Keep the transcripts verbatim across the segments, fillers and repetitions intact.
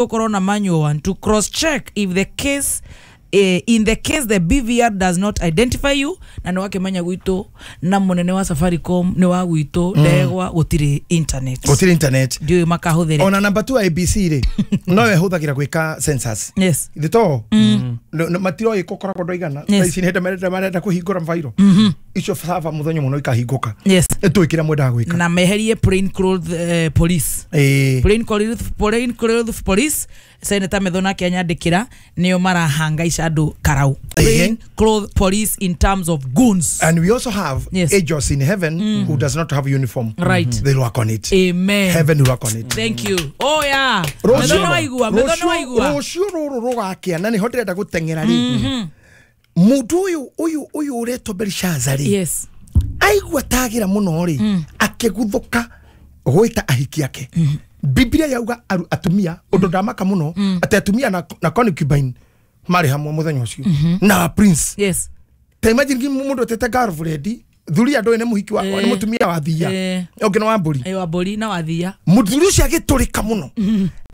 Gukorwo na manual one to cross check if the case eh, in the case the B V R does not identify you na nĩ wakĩmenya gwitũ na mũnene wa Safaricom nĩ wa gwitũ ndegwa gũtirĩ internet gũtirĩ internet ndiũĩ makahũthĩre ona number two I B C rĩ no ĩhũthagĩra gwĩka census yes ithe to matiroĩ gũkoragwo ndwaigana Yes. thaa ici nĩ hĩndĩ marenda marenda kũhingũra mbairũ icio saba mũthenya mũno ikahingũka yes ĩtũĩ kĩrĩa mwendaga gwĩka na meherie plain clothes eh, police Ĩĩ. plain clothes plain clothes police Senator Methona akĩanyandĩkĩra nĩo marahangaica andũ karau plain clothes police in terms of goons And we also have Yes. angels in heaven who does not have uniform. Right. They work on it. Amen. Heaven will work on it. Thank you. Oh yeah. Methona waigua, Methona waigua. Rũciũ rũrũ rũgakĩa na nĩho ndĩrenda gũteng'era rĩ. Mũndũ ũyũ ũyũ ũyũ ũretwo Belshazzar rĩ. Yes. Aigua tagĩra mũno rĩ akĩguthũka gwĩta ahiki ake. Biblia yauga aru- atumia ũndũ ndamaka mũno atĩ atumia na, na concubine marĩ hamwe mũthenya ũcio na prince. Yes. Ta imagine mũndũ atete girlfriend thuri andũ nĩ mũhiki wa Eh. nĩ mũtumia wa thia Eh. ũngĩ nĩ wa mbũri Ayo wa mbũri na wathia. mũthuri ũcio agĩtũrĩka mũno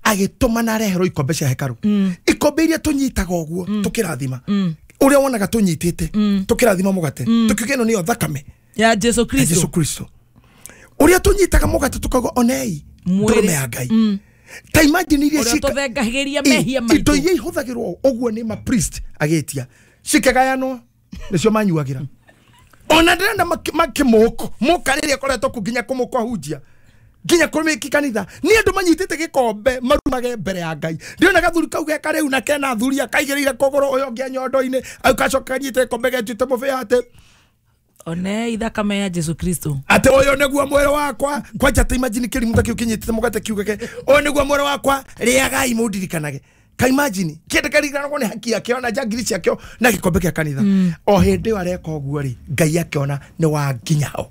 agĩtũma na areherwo ikombe cia hekarũ ikombe iria tũnyitaga ũguo tũkĩrathima ũrĩa wonaga tũnyitĩte tũkĩrathima mũgate tũkiuga ĩno nĩyo thakame Ya Jesu ya Kristo. Jesu Kristo ũrĩa tũnyitaga mũgate tũkauga onei Mwĩrĩ. ndũrũme ya Ngai ta imagine iria Ũrĩa cika- tũthengagĩria Ĩ, mehia indo maitũ. iria ihũthagĩrwo ũguo nĩ ma priest agĩtia cikĩgayanwo nĩcio manyuagĩra ona ndĩrenda makĩmũkũ mũka rĩrĩa akoretwo kũ nginya kũmũkũ ahunjia nginya kũmĩki kanitha nĩ andũ manyitĩte gĩkombe marumage mbere ya Ngai ndĩrona gathuri kau geka rĩu na kena athuri akaigĩrĩire kũgũrũ ũyũ ũngĩ nyondo-inĩ au gacoka kanyitĩte gĩkombe getuĩte mũbĩa atĩ Onei thakame ya Jesu Kristo. atĩ ũyũ nĩguo mwĩrĩ wakwa kwanja ta imagine kĩrimũ ta kĩu kĩnyitĩte mũgate kiugage ũyũ nĩguo mwĩrĩ wakwa rĩagai mũndirikanage ka imagine kĩndũ kĩririkanagwo nĩ haki yakĩo na njangiri ciakĩo na gĩkombe kĩa kanitha o hĩndĩ ĩyo areka ũguo rĩ Ngai akĩona nĩ wa nginya ho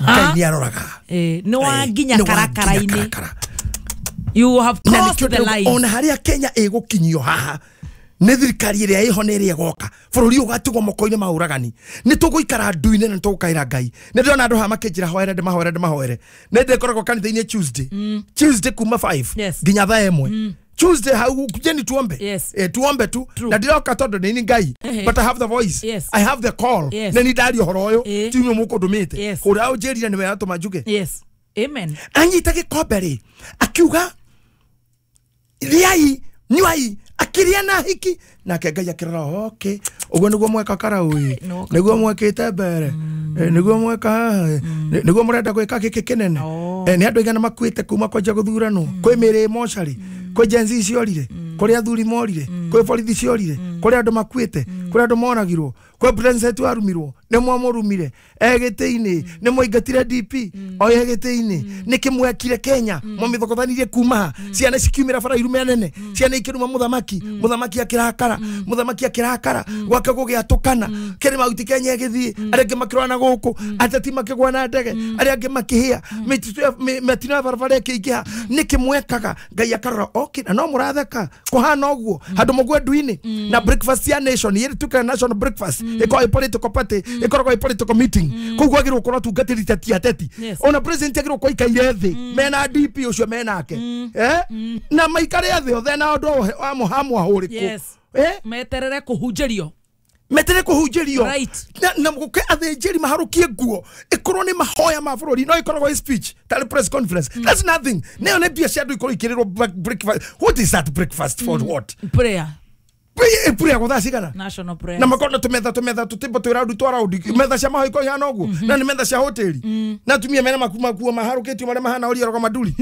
Ngai nĩ aroraga Eh, nĩ wa Eh, nginya nĩ wa nginya karakara-inĩ. karakara. You have Na crossed nĩkĩo the ndĩrauga, line. ona harĩa Kenya ĩgũkinyio haha nĩ thirikari ĩrĩa ĩho nĩ ĩrĩa ĩgoka bũrũri ũyũ ũgatigwo moko-inĩ ma ũragani nĩ tũgũikara ndu-inĩ na nĩ tũgũkaĩra Ngai nĩ ndĩrona andũ haha makĩnjĩra hoere ndĩmahoere ndĩmahoere nĩ ndĩkoragwo kanitha-inĩ Tuesday Tuesday kuma five Yes. nginya thaa ĩmwe Tuesday hau kujeni tuombe Yes. eh, tuombe tu True. na ndiroka tondũ nĩ Ngai Ehe. but I have the voice Yes. I have the call Yes. nĩ ni ndaria ũhoro ũyũ Eh. ti inyuĩ mũkũndũmĩte Yes. ũrĩa ũnjĩrire nĩwe atũma njuge Yes. Amen. anyita gĩkombe rĩ akiuga rĩai nyuai akĩrĩa na hiki nake Ngai akĩrora okay ũguo nĩguo mweka karau ĩ No, nĩguo mwekĩte mbere Eh, nĩguo mweka haha ĩ. Nĩ- nĩguo mũrenda gwĩka gĩkĩ kĩnene Oh. Eh, nĩ andũ aigana makuĩte kuma kwanjia gũthuranwo kwĩ mĩrĩ mocarĩ kwĩ Gen Z ciorire kũrĩ athuri morire kwĩ borithi ciorire kũrĩ andũ makuĩte kũrĩ andũ moragirwo kwĩ president warumirwo nĩ mwamũrumire e gĩtĩ-inĩ nĩ mwaingatire D P o e gĩtĩ-inĩ nĩkĩ mwekire Kenya mwamĩthokothanirie kuma ha ciana cikiumĩra bara irume nene ciana ikĩruma mũthamaki mũthamaki akĩrakara mũthamaki akĩrakara gwake gũgĩatũkana kĩrĩ mahuti Kenya ĩgĩthiĩ arĩa angĩ makĩrũa na gũkũ ateti makĩgwa na ndege arĩa angĩ makĩhĩa mĩtitũ ya- mĩ- mĩtino ya barabara ĩkĩingĩha nĩkĩ mwekaga Ngai akarora okay na no mũratheka kũhana ũguo handũ mũgwe ndu-inĩ na breakfast ya nation ĩrĩ tukaga national breakfast ĩkoragwo ĩ political party ĩkoragwo ĩ political meeting kũu kwagĩrĩirwo gũkorwo atungatĩri ta ti ateti Yes. ona president agĩrĩirwo gũkorwo aikaire thĩ mena D P ũcio menake eh na maikare thĩ othe na ũndũ wa mũhamwahũrĩkũ Yes. eh Meterere kũhunjĩrio. metere kũhunjĩrio Right. na, na gũke athĩnjĩri maharũkie nguo ĩkorwo nĩ mahoya ma bũrũri no ĩkoragwo ĩ speech tarĩ press conference that's nothing nĩyo nĩ mbia cia andũ ikorwo ikĩrĩrwo breakfast what is that breakfast for what Prayer. prayer gũthaa cigana National prayer. na makorwo na tũmetha tũmetha tũtĩmbo twĩ raundi twa raundi metha cia mahoya ikorwo ihana ũguo na nĩ metha cia hoteli na atumia mena maku makuo maharũkĩtio marĩa mahana ũria roga manduri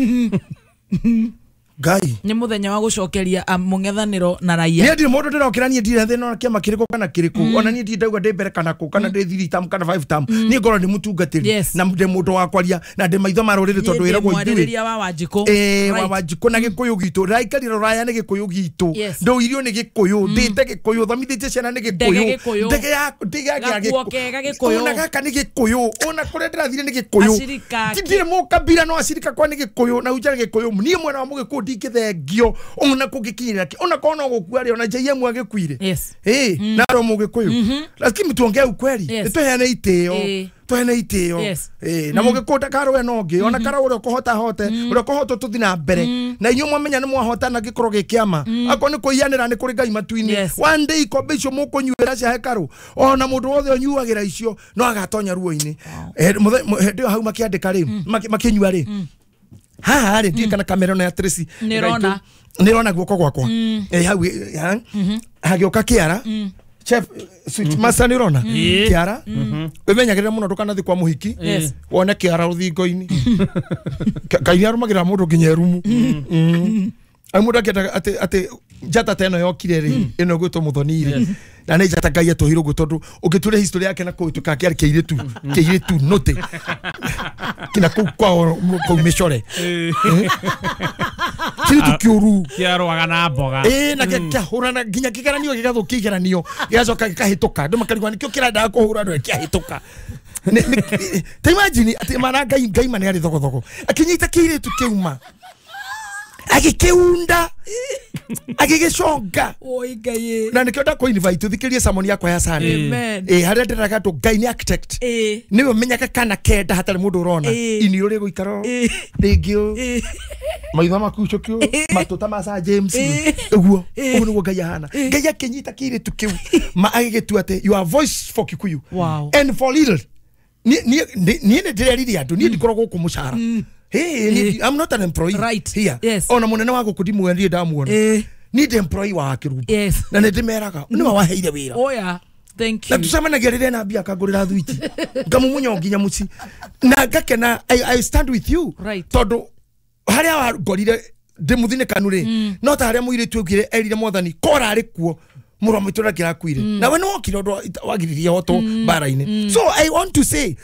Ngai Nĩ mũthenya wa gũcokeria ah, mũng'ethanĩro na raia. niĩ ndirĩ mũndũ ndĩrokĩra niĩ ndirĩ thĩna ona kĩama kĩrĩkũ kana kĩrĩkũ ona niĩ ndirĩ ndauga ndĩ mbere kana kũ kana ndĩ three term kana five term niĩ ngorwo ndĩ mũtungatĩri Yes. na ndĩ mũndũ wa kwaria na ndĩ maitho ma rũrĩrĩ tondũ Niĩ ndĩ wĩragwo ithuĩ mwarĩrĩria wa Wanjikũ. Eh, wa Right. Wanjikũ na gĩkũyũ gitũ ndĩraikarire rũraya nĩ gĩkũyũ gitũ Yes. ndũirio nĩ gĩkũyũ ndĩte gĩkũyũ thomithĩtie ciana nĩ Ndege gĩkũyũ gĩkũyũ. ndege ya ndege ya Gakuo kega gĩkũyũ. ona gaka nĩ gĩkũyũ ona kũrĩa ndĩrathire nĩ gĩkũyũ Acirika ndirĩ mũkabira no acirika kwa nĩ gĩkũyũ na unja gĩkũyũ niĩ mwena wa mũgĩkũyũ Ndingĩthengio ona kũngĩkinyĩra kĩ ona korwo no gũkua rĩ ona J M agĩkuire. Yes. Eh, na ro mũgĩkũyũ. Lakini tuongee ukweli. Yes. Nĩtũheane itĩo. Eh. Tũheane itĩo. Yes. Eh, na mũgĩkũyũ ndakarũe na ũngĩ ona kara ũrĩa ũkũhota hote ũrĩa ũkũhota tũthiĩ na mbere na inyuĩ mwamenya nĩ mwahotana gĩkorwo gĩ kĩama akorwo nĩ kũiyanĩra nĩ kũrĩ Ngai matu-inĩ. Yes. One day ikombe icio mũkũnyuĩra cia hekarũ ona mũndũ wothe ũnyuagĩra icio no agatonya ruo-inĩ. Eh, mũthe- mũ- hĩndĩ ĩyo hau makĩandĩka rĩ maki- makĩnyua rĩ haha rĩ ndiĩ kana kamera ĩno ya Tracy Nĩrona. nĩrona guoko gwakwa. Eh, hau eh, ha- hagĩũka kĩara chef sweet master nĩrona kĩara wĩmenyagĩrĩra mũno ndũkanathiĩ kwa mũhiki Yes. wone kĩara rũthingo-inĩ. Ngai nĩarũmagĩrĩra mũndũ nginya erumu. Ai mũndũ akĩenda atĩ atĩ njata ta ĩno yokire rĩ ĩno ĩgwĩtwo Mũthoni rĩ na nĩ njata Ngai atũheire ũguo tondũ ũngĩtura history yake na kũu ĩtuĩkaga kĩarĩ kĩirĩtu kĩirĩtu nũtĩ kina kũu kwao kũu mĩcore kĩirĩtu kĩũru kĩarũaga na mboga. Ĩĩ na kĩahũrana nginya kĩgeranio gĩgathũkia igeranio gĩgacoka gĩkahĩtũka andũ makarigwo nĩkĩo kĩrendaga kũhũra andũ kĩahĩtũka. Nĩ- nĩ- ta imagine atĩ mana Ngai Ngai ma nĩ arĩ thogothogo akĩnyita kĩirĩtu kĩuma agĩkĩunda agĩgĩconga Oi Ngai. na nĩkĩo ndakũ invite ũthikĩrie sermon yakwa ya Sunday. Amen. Ĩ harĩa ndĩraga andũ Ngai nĩ architect Eh. nĩwe ũmenyaga kana kenda hatarĩ mũndũ ũrona Ĩ. ini ũrĩ gũikara Ĩ. rĩngĩ ũ Eh. maitho maku cũkio matũ ta ma Sir James Ĩ. ũguo Ĩ. ũguo nĩguo Ngai ahana. Ngai akĩnyita kĩirĩtu kĩu ma agĩgĩtua atĩ you are voice for Kikuyu Wow. and for little niĩ niĩ nĩ ndĩrerire andũ niĩ ndikoragwo gũkũ mũcara. Hey, ni, I'm not an employee Right. here. Yes. Ona munene wa gũkũ ndimwe ndiĩ ndamuona. Eh. Ni ndi employee wa Kĩrumbu. Yes. Na nĩ ndĩmeraga nĩwe waheire wĩra. Oh yeah. Thank Na you. tucemanagia rĩrĩa na mbia akangũrĩra thwiti ngamumunya o nginya mũciĩ na ngakena. I, I stand with you. Right. Tondũ harĩa wangorire ndĩmũthinĩkanu rĩ no ta harĩa mũirĩtu augire erire mwathani kora arĩ kuo mũrũ wa maitũ ũrĩa kĩrakuire nawe nĩ wokire ũndũ wagiririe hotwo mbara-inĩ. So I want to say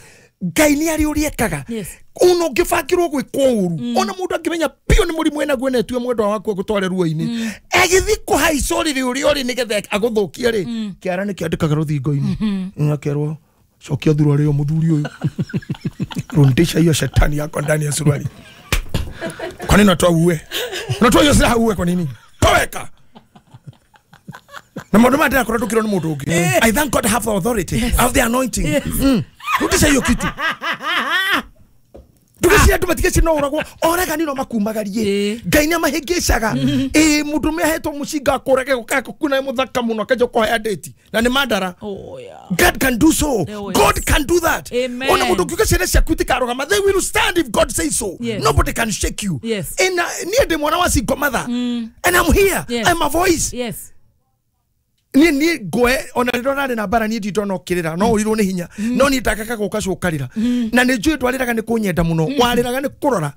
Ngai nĩ arĩ ũrĩa ekaga. Yes. Ona ũngĩbangĩrwo gwĩkwo ũru ona mũndũ angĩmenya biũ nĩ mũrimũ enaguo na etue mwendwa waku agũtware ruo-inĩ agĩthiĩ kũhaica ũrĩrĩ ũrĩa ũrĩ nĩgetha agũthũkie rĩ kĩara nĩ kĩandĩkaga rũthingo-inĩ akerwo cokia thuruarĩ ĩyo mũthuri ũyũ rundisha hiyo shetani yako ndani ya suruali. Kwa nini unatoa uwe? Unatoa hiyo silaha uwe kwa nini? Toweka. Na maũndũ maya ndĩrakora ndũkĩrwo nĩ mũndũ ũngĩ. I thank God I have the authority. I have the anointing. Mm. Rudisha hiyo kitu. Ndũgeciria andũ matigeci no ũragwo oragani no makumagarie. Ĩ. Ngai nĩ amahĩngĩcaga. Ĩ mũndũ ũmwe ahetwo mũcinga akũrage gũkakuna mũthaka mũno akanjia kũhea date na nĩ mandara. Oh yeah. God can do so. Oh, yes. God can do that. Amen. Ona mũndũ ũngiuga ciana ciaku itikarũgama, they will stand if God says so. Yes. Nobody can shake you. Yes. And niĩ ndĩ mwana wa single mother. And I'm here. Yes. I'm a voice. Yes. Niĩ niĩ ngwe ona rĩrĩa ũrarĩ na mbara niĩ ndindona ũkĩrĩra no ũrirwo nĩ hinya no niĩ ndakaga gũka cũkarĩra na nĩ njũĩ ndwarĩraga nĩ kũnyenda mũno warĩraga nĩ kũrora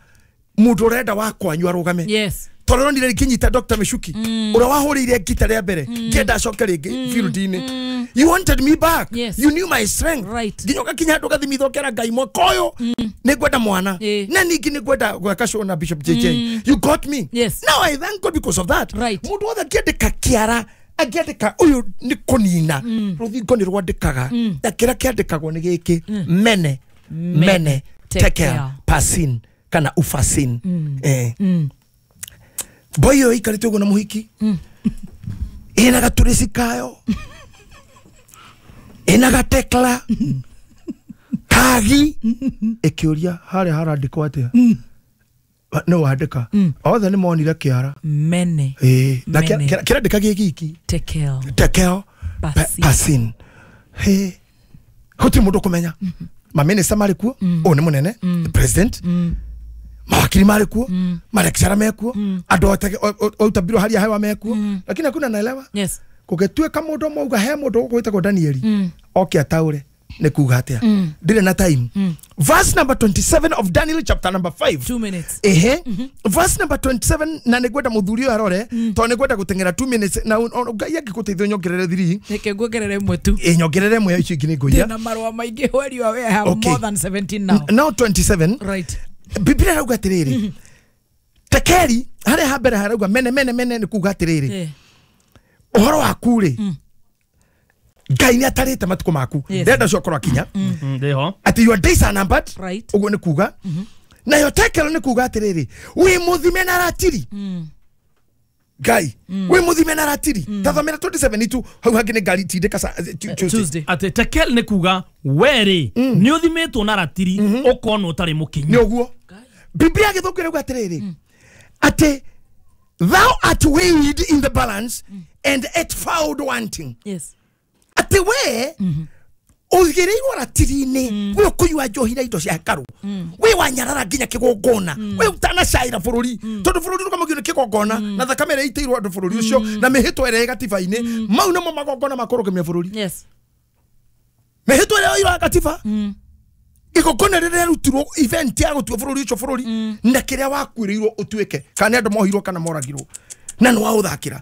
mũndũ ũrenda wa kwanyu arũgame. Yes. Tondũ ronire ngĩnyita Doctor Michuki ũrĩa wahũrĩire ngita rĩa mbere ngĩenda acoke rĩngĩ field-inĩ. You wanted me back. Yes. You knew my strength. Right. Nginya ũgakinya handũ ũgathimithia ũkera Ngai mwaka ũyũ nĩ ngwenda mwana Ĩ. na ningĩ nĩ ngwenda gwaka show na Bishop J J. You got me. Yes. Now I thank God because of that. Right. Mũndũ wothe angĩandĩka kĩara angĩandĩka ũyũ nĩ kũnina rũthingo nĩ rwandĩkaga na kĩrĩa kĩandĩkagwo nĩ gĩkĩ mene mene tekel pasin kana ufasin. Eh. Boy ĩyo ĩikarĩte ũguo na mũhiki ĩna gatũrĩci kayo ĩna gatekla kagi ĩkĩũria harĩa harandĩkwo atĩa no wandĩka othe nĩ monire kĩara Mene. ĩĩ na Mene. kĩrandĩka gĩ giki Tekel. tekel Pasin. pasin. He gũtirĩ mũndũ ũkũmenya maminista marĩ kuo ũyũ nĩ mũnene the president mawakiri marĩ kuo malecturer mekuo andũ ote o hali ya hewa mekuo lakini hakuna naelewa. Yes. Kũngĩtuĩka mũndũ ũmwe auga he mũndũ ũgwĩtagwo Danieli oke ataũre nĩ kuga atĩa ndirĩ na time. Verse number twenty-seven of Daniel chapter number five. Two minutes. Ehe. Verse number twenty-seven na nĩngwenda mũthuri ũyũ arore tondũ nĩngwenda gũteng'era two minutes na Ngai angĩgũteithia nyongerere three. Reke nguongerere ĩmwe tu. Ĩ nyongerere ĩmwe icio ingĩ nĩngũiya. Ndĩna marũa maingĩ where you are, I have Okay. more than seventeen now. Now twenty-seven. Right. Biblia ĩrauga atĩrĩrĩ tekeri harĩa ha mbere harauga mene mene mene nĩ kuga atĩrĩrĩ Eh. ũhoro waku rĩ Ngai nĩ atarĩte matukũ maku Yes. ndenda ũcio ũkorwo akinya Ndĩho atĩ your days are numbered. Right. Ũguo nĩ kuga Nayo tekel nĩ kuga atĩrĩrĩ wĩ mũthime na ratiri. Ngai wĩ mũthime na ratiri. Tathomera twenty-seven tu hau hangĩ nĩ ngari tindĩka Tuesday. Atĩ tekel nĩ kuga werĩ nĩ ũthimĩtwo na ratiri ũkonwo ũtarĩ mũkinyu. Nĩ ũguo. Biblia gĩthũngũ ĩrauga atĩrĩrĩ atĩ thou art weighed in the balance and art found wanting. Yes. Atĩ we ũigĩrĩirwo ratiri-inĩ we ũkũnyua njohi na indo cia hekarũ we wanyarara nginya kĩgongona we ũtanacaĩra bũrũri tondũ bũrũri ũrũgamagio nĩ kĩgongona na thakame ĩrĩa ĩitĩirwo andũ bũrũri ũcio na mĩhĩtwa ĩrĩa ĩ gatiba-inĩ mau nĩmo magongona ma kũrũgamia bũrũri. Yes. Mĩhĩtwa ĩrĩa yoirwo gatiba igongona rĩrĩa rĩarutirwo event ya gũtua bũrũri ũcio bũrũri na kĩrĩa wakuĩrĩirwo ũtuĩke kana nĩ andũ mohirwo kana moragirwo na nĩ waũthakĩra.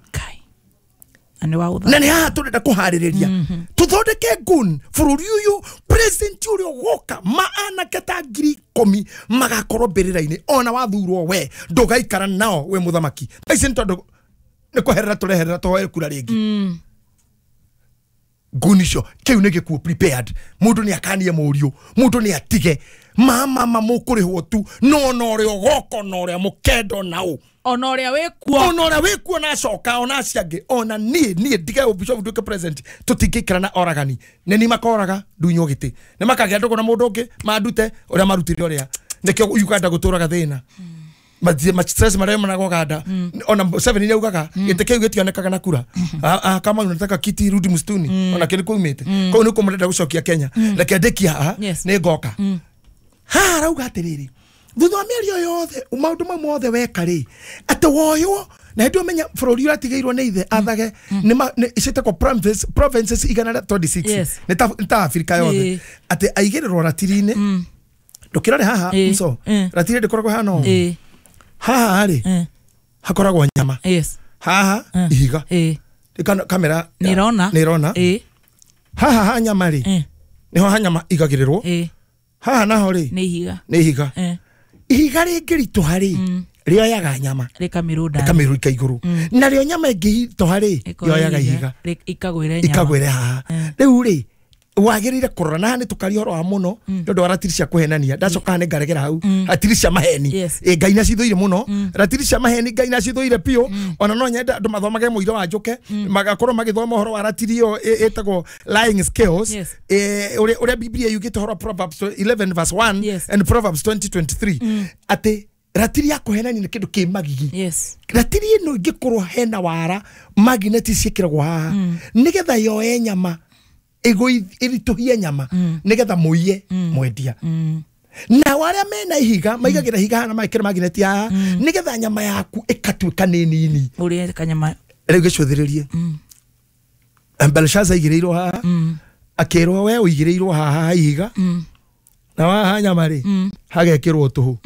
Na nĩ haha tũrenda kũharĩrĩria tũthondeke ngun bũrũri ũyũ president ũrĩa ũgoka ma anake ta ngiri ikũmi magakorwo mbĩrĩra-inĩ ona wathurwo we ndũgaikara nao we mũthamaki. Thaa ici nĩ tondũ nĩ kweherera tũreherera tũhoe kura rĩngĩ. Ngun icio kĩu nĩ gĩkuũ prepared. Mũndũ nĩ akanie mũriũ mũndũ nĩ atige mama mama mũkũrĩhwo tu no na ũrĩa ũgoka na ũrĩa mũkendo nao ona ũrĩa wĩkuo ona ũrĩa wĩkuo na acoka ona acio angĩ ona niĩ niĩ ndige ũbishop nduĩke president tũtingĩikara na oragani nĩ ni makoraga ndunywo gĩtĩ nĩ makagĩa ndũgũ na mũndũ ũngĩ mandute ũrĩa marutire ũrĩa nĩkĩo Uganda gũtũraga thĩna ma stress marĩa managa Uganda ona Museveni nĩ augaga gĩtĩ kĩu gĩtionekaga na kura kama unataka kiti rudi msituni ona kĩrĩ kũumĩte kũu nĩkuo marenda gũcokia Kenya reke ndĩkie haha nĩ ngoka haha arauga atĩrĩrĩ thutha wa mĩario yothe maũndũ mau mothe weka rĩ atĩ woywo na hĩndĩ ũmenya bũrũri ũratigĩirwo nĩ ithe athage nĩ ciĩtagwo provinces igana rĩa twenty-six nĩ ta Afrika yothe atĩ aigĩrĩrwo ratiri-inĩ ndũkĩrore haha mso ratiri ndĩkoragwo hana ũũ haha rĩ hakoragwo nyama haha ihiga kamera nĩ ĩrona haha ha nyama rĩ nĩho ha nyama igagĩrĩrwo haha naho rĩ nĩ ihiga nĩ ihiga ihiga rĩngĩritũha rĩ rĩoyaga nyama rĩkamĩrũnda rĩkamĩrũika igũrũ narĩo nyama ĩngĩritũha rĩ yoyaga ihiga ikagwĩre haha rĩu rĩ wagĩrĩire kũrora na haha nĩ tũkaria ũhoro wa mũno nĩ ũndũ wa ratiri cia kũhenania ndacoka haha nĩ ngaregera hau ratiri cia maheni Ngai nĩacithũire mũno ratiri cia maheni Ngai nĩacithũire biũ ona no nyende andũ mathomage mũira wa njũke magakorwo magĩthoma ũhoro wa ratiri ĩyo ĩtagwo lying scales ũrĩa Biblia yugĩte ũhoro wa Proverbs eleven verse one and Proverbs twenty twenty-three atĩ ratiri ya kũhenania nĩ kĩndũ kĩ magigi. Ratiri ĩno ĩngĩkorwo hena wara magneti ciĩkĩragwo haha nĩgetha yoe nyama ĩritũhie nyama nĩgetha mũiye mwendia na arĩa mena ihiga maigagĩra ihiga hana mekĩra magneti haha nĩgetha nyama yaku ĩkatuĩka nĩ nini ũrĩe kanyama rĩu gĩcũthĩrĩrie. Belshaza aigĩrĩirwo haha akĩrwo we ũigĩrĩirwo haha ihiga na haha nyama rĩ hagekĩrwo tũhũ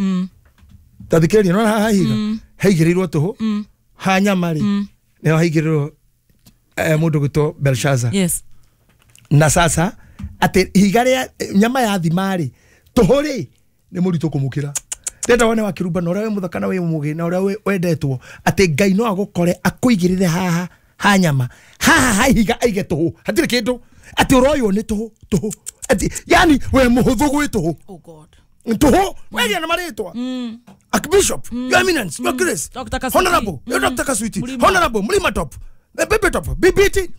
ta thikĩrĩria nĩwona haha ihiga haigĩrĩirwo tũhũ ha nyama rĩ nĩho haigĩrĩrwo mũndũ gwĩtwo Belshaza. Yes. Na sasa atĩ ihiga rĩa nyama ya thima rĩ tũhũ rĩ nĩ mũritũ kũmũkĩra ndenda wone wakĩrumba na ũrĩa wĩ mũthaka na wĩ mũgĩ na ũrĩa wendetwo atĩ Ngai no agũkore akũigĩrĩre haha ha nyama haha ha ihiga aige tũhũ hatirĩ kĩndũ atĩ ũroywo nĩ tũhũ tũhũ atĩ yani we mũhũthũ gwĩ tũhũ. Oh God. Tũhũ wegĩa na marĩtwa Archbishop, Your Eminence, Your Grace, Honorable, Your Doctor Kasuiti, Honorable, Mlima Top, Baby Top, B B T,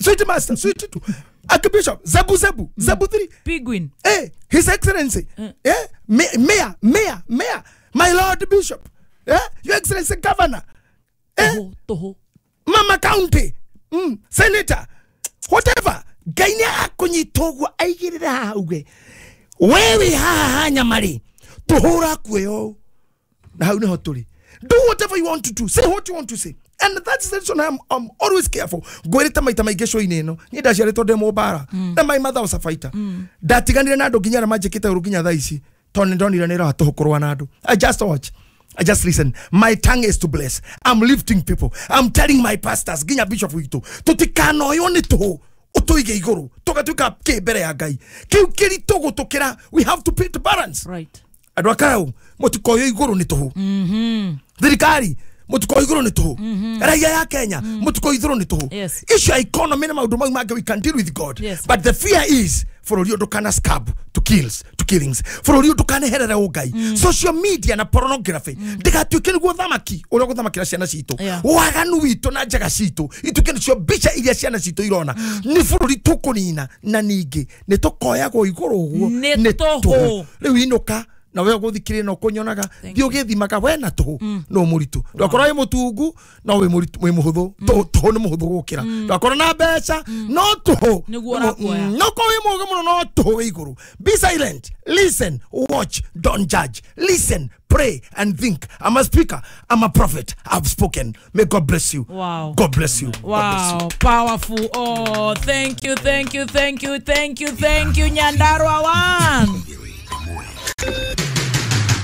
Sweet Master, Sweet Two, Archbishop, Zebu Zebu, Zebu Three, Penguin, eh, His Excellency, eh, Mayor, Mayor, Mayor, My Lord Bishop, eh, Your Excellency Governor, eh, Toho, Mama County, mm, Senator, whatever. Ngai nĩ akũnyita ũguo aigĩrĩre haha uge wewe haha ha nyama rĩ tũhũra kuoyo na hau nĩho tũrĩ. Do whatever you want to do, say what you want to say, and that's the reason I'm, I'm always careful. Ngwĩrĩte maita maingĩ show-inĩ ĩno niĩ ndaciarĩtwo ndĩ mũmbara na my mother was a fighter. Ndatiganire na andũ nginya arĩa manjĩkĩte ũru nginya thaa ici tondũ nĩ ndonire nĩ ĩroha tũhũ kũrũa na andũ. I just watch, I just listen. My tongue is to bless. I'm lifting people. I'm telling my pastors nginya bishop witũ tũtikanoywo nĩ tũhũ ũtũige igũrũ tũgatuĩka kĩ mbere ya Ngai kĩu kĩritũ gũtũkĩra. We have to put balance. Right. Andũ a Karau mũtikoywo igũrũ nĩ tũhũ. Thirikari Mutuko iguru ni tuhu. Raia ya Kenya mutuko ithuru ni tuhu. Issue economy na maundu mau mangĩ we can deal with God. Yes. But the fear is bũrũri ndukana scab to kills to killings. Bũrũri ndukaneherere ũngai. Mm. Social media na pornography ndigatuĩke nĩguo thamaki ũrĩa gũthamakĩra ciana citũ. Waganu witũ na njaga citũ ituĩke nĩcio mbica iria ciana citũ irona. Nĩ bũrũri tũkũnina na ningĩ nĩ tũkoyagwo igũrũ ũguo nĩ tũhũ. Rĩu inũka na we ũgũthikĩrĩria na ũkũnyonaga thiĩ ũgĩthimaga we na tũhũ no mũritũ. Ndwakorwo wĩ mũtungu no wĩ mũritũ wĩ mũhũthũ. Tũhũ nĩ mũhũthũ gũkĩra. Ndwakorwo na mbeca no tũhũ no korwo wĩ mũũgĩ mũno no tũhũ wĩ igũrũ. Be silent, listen, watch, don't judge. Listen, pray and think. I'm a speaker, I'm a prophet, I've spoken. May God bless you. Wow. God bless you. Wow. God bless you. Powerful. Oh, thank you, thank you, thank you, thank you, thank you, Nyandarua one.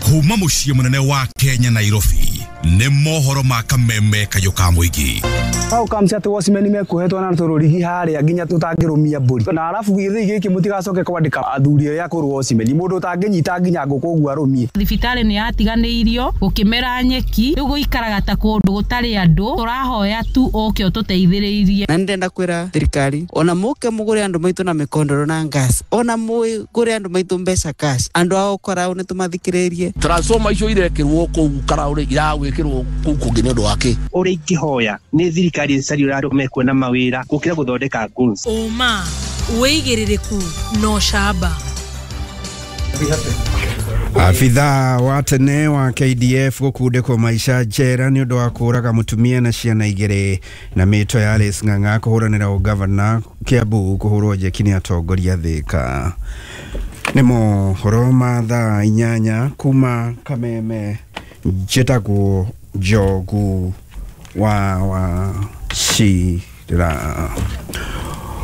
Kuma muciĩ mũnene wa Kenya Nairobi nĩ mohoro ma kameme kayũ ka mũingĩ. Hau kamcia atĩ watchman mekuohetwo na tũrũrigi harĩa nginya tũtangĩrũmia mbũri na arabu gĩthĩi gĩkĩ mũtigacoke kwandĩka athuri arĩa akũrũ watchman mũndũ ũtangĩnyita nginya ngũkũ ũguo arũmie. Thibitarĩ nĩ yatiganĩirio gũkĩmera nyeki rĩu gũikaraga ta kũndũ gũtarĩ andũ tũrahoya tu ũke ũtũteithĩrĩirie. Na nĩndenda kwĩra thirikari ona mũke mũgũre andũ maitũ na mĩkondoro na gas ona mũgũre andũ maitũ mbeca cash andũ ao karaũ nĩ tũmathikĩrĩrie. Transformer icio irekĩrwo kũu karaũ rĩ iragwĩkĩrwo kũu kũngĩ nĩ ũndũ wa kĩ? Ũrĩa ingĩhoya nĩ thirikari ĩcarie ũrĩa andũ mekuona mawĩra gũkĩra gũthondeka goons. Ũma wĩigĩrĩrĩku no camba. Afitha wa tene wa K D F gũkundĩkwo maica njera nĩ ũndũ wa kũũraga mũtumia na ciana igĩrĩ na mĩto ya Alice Ng'ang'a kũhũranĩra ũgavana Kiambu kũhũrwo njeki nĩ atongoria Thika. Nĩ mohoro ma thaa inyanya kuma Kameme njĩtagwo Njogu wa wa Shira.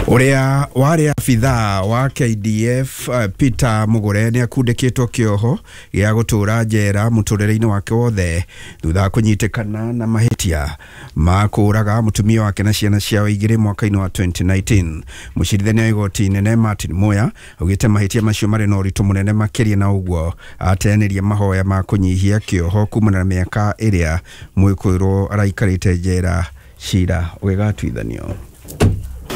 Ũrĩa warĩ abithaa wa K D F uh, Peter Mugure nĩ akundĩkĩtwo kĩoho gĩa gũtũũra njera mũtũrĩre-inĩ wake wothe thutha wa kũnyitĩkana na mahĩtia ma kũũraga mũtumia wake na ciana ciao igĩrĩ mwaka-inĩ wa twenty nineteen. Mũcirithania wa igoti inene Martin Muya augĩte mahĩtia macio marĩ na ũritũ mũnene makĩria na ũguo ateanĩria mahoya ma kũnyihia kĩoho kumana na mĩaka ĩrĩa mwĩkũĩrwo araikarĩte njera cira ũgĩgatuithanio.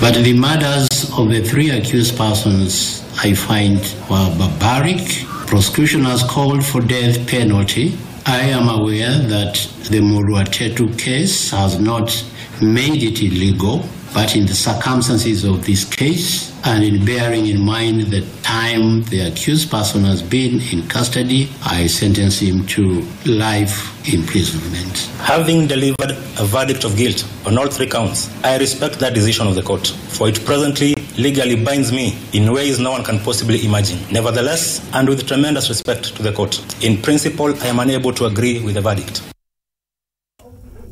But the murders of the three accused persons, I find, were barbaric. Prosecution has called for death penalty. I am aware that the Muruatetu case has not made it illegal, but in the circumstances of this case, and in bearing in mind the time the accused person has been in custody, I sentence him to life imprisonment. Having delivered a verdict of guilt on all three counts, I respect that decision of the court, for it presently legally binds me in ways no one can possibly imagine. Nevertheless, and with tremendous respect to the court, in principle, I am unable to agree with the verdict.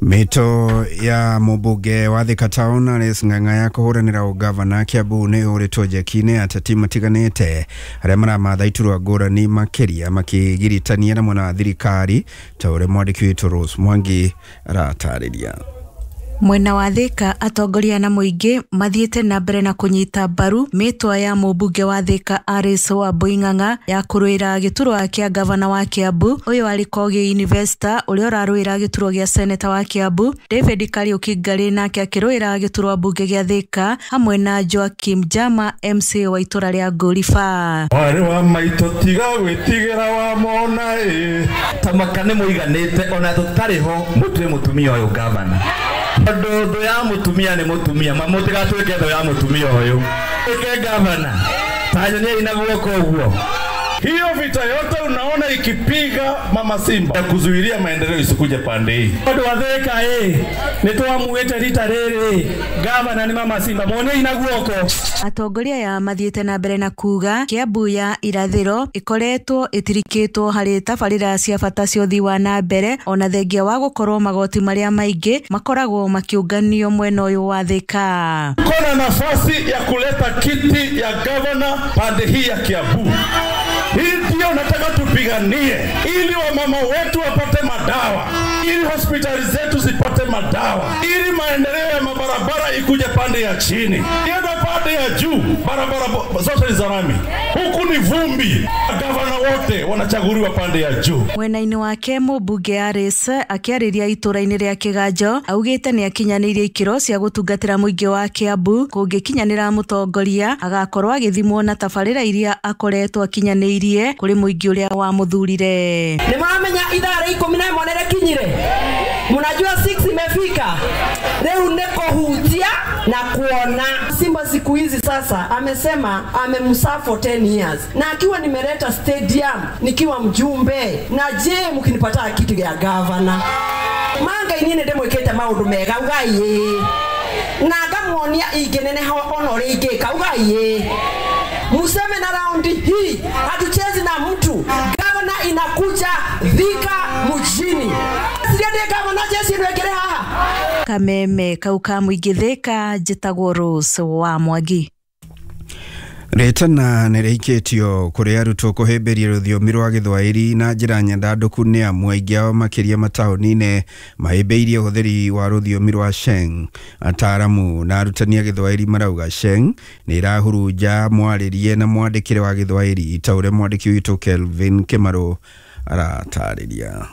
Mito ya mũmbunge wa Thika Town Alice Ng'ang'a ya kũhũranĩra ũgavana Kiambu nĩ ũrĩtwo njeki-inĩ ateti matiganĩte arĩa maramatha iturwa ngũrani makĩria makĩgiritania na mwena wa thirikari ta ũrĩa mwandĩki witũ Rose Mwangi aratarĩria. Mwena wa Thika atongoria na mũingĩ mathiĩte na mbere na kũnyita mbaru mĩtwa ya mũmbunge wa Thika Alice Wambui Ng'ang'a ya kũrũĩra gĩturwa kĩa gavana wa Kiambu. Ũyũ arĩ Kogi Investor ũrĩa ũrarũĩra gĩturwa gĩa seneta wa Kiambu, David Kariuki Ngarĩ nake akĩrũĩra gĩturwa mbunge gĩa Thika hamwe na Joakim Jama M C wa itũra rĩa Ngũriba. Mwarĩ wa maitũ tiga gwĩtigĩra wa mona ĩ tamaka nĩ mũiganĩte ona tũtarĩ ho mũtue mũtumia ũyũ gavana. Tondu thũ ya mũtumia nĩ mũtumia ma mũtigatuĩke thũ ya mũtumia ũyũ ĩke gavana tanyoniai na guoko ũguo. Hiyo vita yote unaona ikipiga mama Simba ya kuzuilia maendeleo isikuje pande hii. Tondu wa Thika ĩ nĩ twamuĩte rita rĩrĩ gavana nĩ mama Simba muonei na guoko. Atongoria ya mathiĩte na mbere na kuga Kiambu ya irathĩro ĩkoretwo ĩtirikĩtwo harĩ tabarĩra cia bata cia ũthii wa na mbere ona thengia wa gũkorwo magoti marĩa maingĩ makoragwo makĩũnganio mwena ũyũ wa Thika. Kuna nafasi ya kuleta kiti ya gavana pande hii ya Kiambu. Hii ndio nataka tupiganie ili wamama wetu wapate madawa, ili hospitali zetu zipate madawa, ili maendeleo ya Barabara ikuje pande ya chini, ienda pande ya juu, barabara zote ni za rami. Huku ni vumbi. Gavana wote wanachaguliwa pande ya juu. Mwena-inĩ wake mũmbunge Alice akĩarĩria itũra-inĩ rĩa Kĩganjo augĩte nĩ akinyanĩirie ikĩro cia gũtungatĩra mũingĩ wa Kiambu kũngĩkinyanĩra mũtongoria agakorwo agĩthimwo na tabarĩra iria akoretwo akinyanĩirie kũrĩ mũingĩ ũrĩa wamũthurire. Nĩ mũramenya ithaa rĩa ikũmi na ĩmwe nĩ rĩkinyire, mnajua six imefika, rĩu nĩ kũhutia na kuona. Simba siku hizi sasa amesema amemserve for ten years, na akiwa nimeleta stadium nikiwa mjumbe, na je mkinipata kitu ya governor manga inine ndemwikite maundu mega ugai na ngamuonia ingeneneha ona uria ingika ugai. Museme na raundi hii hatuchezi na mtu. Gavana inakuja Thika mjini. Siriende gavana jesi nwekere haha. Kameme kau ka mũingĩ Thika, njĩtagwo Rose wa Mwangi. Rĩtana nĩ rĩikĩtio kũrĩ arutwo kũhĩmbĩria rũthiomi rwa Gĩthwaĩri na njĩra nyandandũku nĩ amu aingĩ ao makĩria mataũni-inĩ mahĩmbĩirie ũhũthĩri wa rũthiomi rwa Sheng. Ataaramu na arutani a Gĩthwaĩri marauga Sheng nĩ ĩrahurunja mwarĩrie na mwandĩkĩre wa Gĩthwaĩri ta ũrĩa mwandĩki witũ Kelvin Kĩmarũ aratarĩria.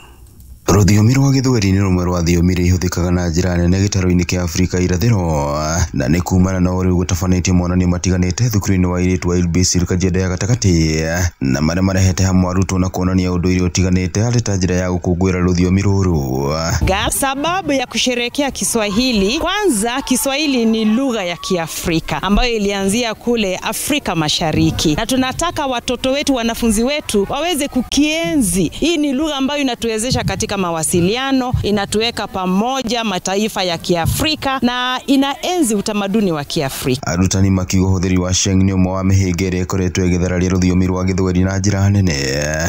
Rũthiomi rwa Gĩthweri nĩ rũmwe rwa thiomi iria ihũthĩkaga na njĩra nene gĩtarũ-inĩ kĩa Afrika irathĩro, na nĩ kumana na ũrĩa gũtabanĩtio monanio matiganĩte thukuru-inĩ wa airĩtu wa Ilbisir Kajiado ya gatagatĩ, na marĩa marehete hamwe arutwo na kuonania ũndũire ũtiganĩte arĩ ta njĩra ya gũkũngũĩra rũthiomi rũrũ. Sababu ya kusherehekea Kiswahili, kwanza Kiswahili ni lugha ya Kiafrika ambayo ilianzia kule Afrika Mashariki, na tunataka watoto wetu, wanafunzi wetu waweze kukienzi. Hii ni lugha ambayo inatuwezesha katika mawasiliano, inatuweka pamoja mataifa ya Kiafrika na inaenzi utamaduni wa Kiafrika. Arutani makiuga ũhũthĩri wa Sheng nĩ ũmwe wa mĩhĩnga ĩrĩa ĩkoretwo ĩgĩthararia rũthiomi rwa Gĩthweri na njĩra nene.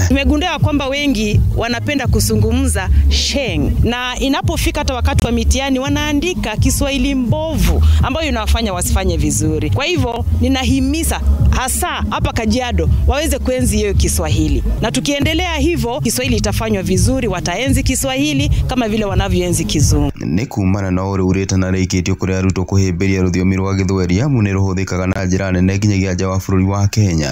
Tumegundua kwamba wengi wanapenda kuzungumza Sheng, na inapofika hata wakati wa mitihani wanaandika Kiswahili mbovu ambayo inawafanya wasifanye vizuri. Kwa hivyo ninahimiza hasa hapa Kajiado waweze kuenzi hiyo Kiswahili, na tukiendelea hivyo Kiswahili itafanywa vizuri, wataenzi Kiswahili kama vile wanavyoenzi Kizungu. Nĩ kumana na ũrĩa ũrĩtana rĩikĩtio kũrĩ arutwo kũhĩmbĩria rũthiomi rwa Gĩthweri amu nĩ rũhũthĩkaga na njĩra nene nginyagia nja wa bũrũri wa Kenya.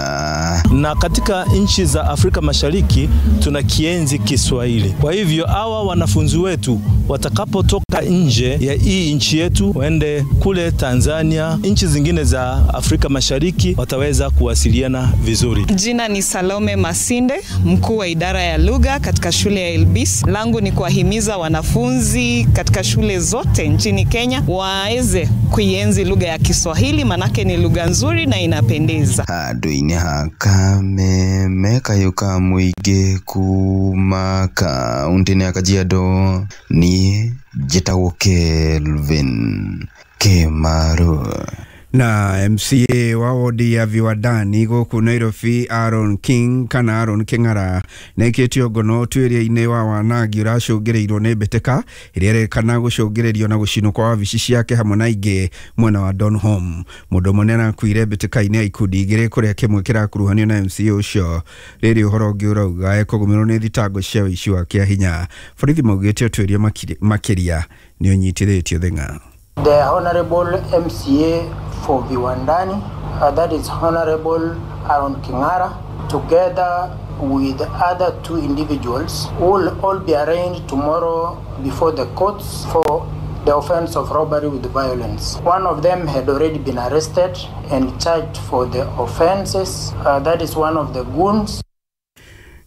Na katika nchi za Afrika Mashariki tunakienzi Kiswahili. Kwa hivyo hawa wanafunzi wetu watakapotoka nje ya hii nchi yetu waende kule Tanzania, nchi zingine za Afrika Mashariki, wataweza kuwasiliana vizuri. Jina ni Salome Masinde, mkuu wa idara ya lugha katika shule ya Ilbis. Langu ni kuwahimiza wanafunzi katika shule zote nchini Kenya waweze kuienzi lugha ya Kiswahili, manake ni lugha nzuri na inapendeza. Handũ-inĩ ha Kameme kayũ ka mũingĩ kuma kaũntĩ-inĩ ya Kajiado, niĩ njĩtagwo Kelvin Kĩmarũ. Na M C A wa wodi ya Viwandani gũkũ Nairobi Aaron King kana Aaron King'ara nĩaikĩtio ngono ũtuĩria-inĩ wa wanangi ũracũngĩrĩirwo nĩ mbĩtĩka ĩrĩa ĩrekana gũcũngĩrĩrio na gũcinwo kwa wabici ciake hamwe na ingĩ mwena wa Donholm. Mũndũ ũmwe nĩarakuire mbĩtĩka-inĩ ya ikundi igĩrĩ kũrĩa kĩmwe kĩrakuruhanio na M C A ũcio. Rĩrĩ ũhoro ũngĩ ũrauga ekũgũmĩrwo nĩ thitango cia ũici wa kĩahinya. Borithi maugĩte ũtuĩria makĩria nĩ ũnyitithĩtio thĩng'a. The Honorable M C A for Viwandani, uh, that is Honorable Aaron King'ara, together with other two individuals, will all be arraigned tomorrow before the courts for the offense of robbery with violence. One of them had already been arrested and charged for the offenses. Uh, that is one of the goons.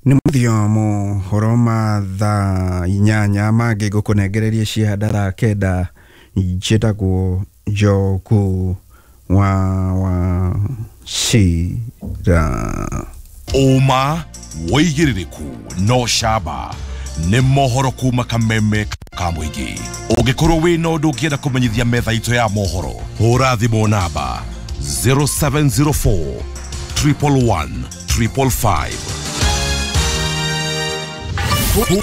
Nĩ mũthiomo horo ma thaa inyanya mangĩ ngũkũnengereria cianda thaa kenda. Njĩtagwo Njogu wa wa Cira. Ũma wĩigĩrĩrĩku no camba nĩ mohoro kuma Kameme ka mũingĩ. Ũngĩkorwo wĩna ũndũ ũngĩenda kũmenyithia metha itũ ya mohoro, hũra thimũ namba zero seven zero four triple one triple five.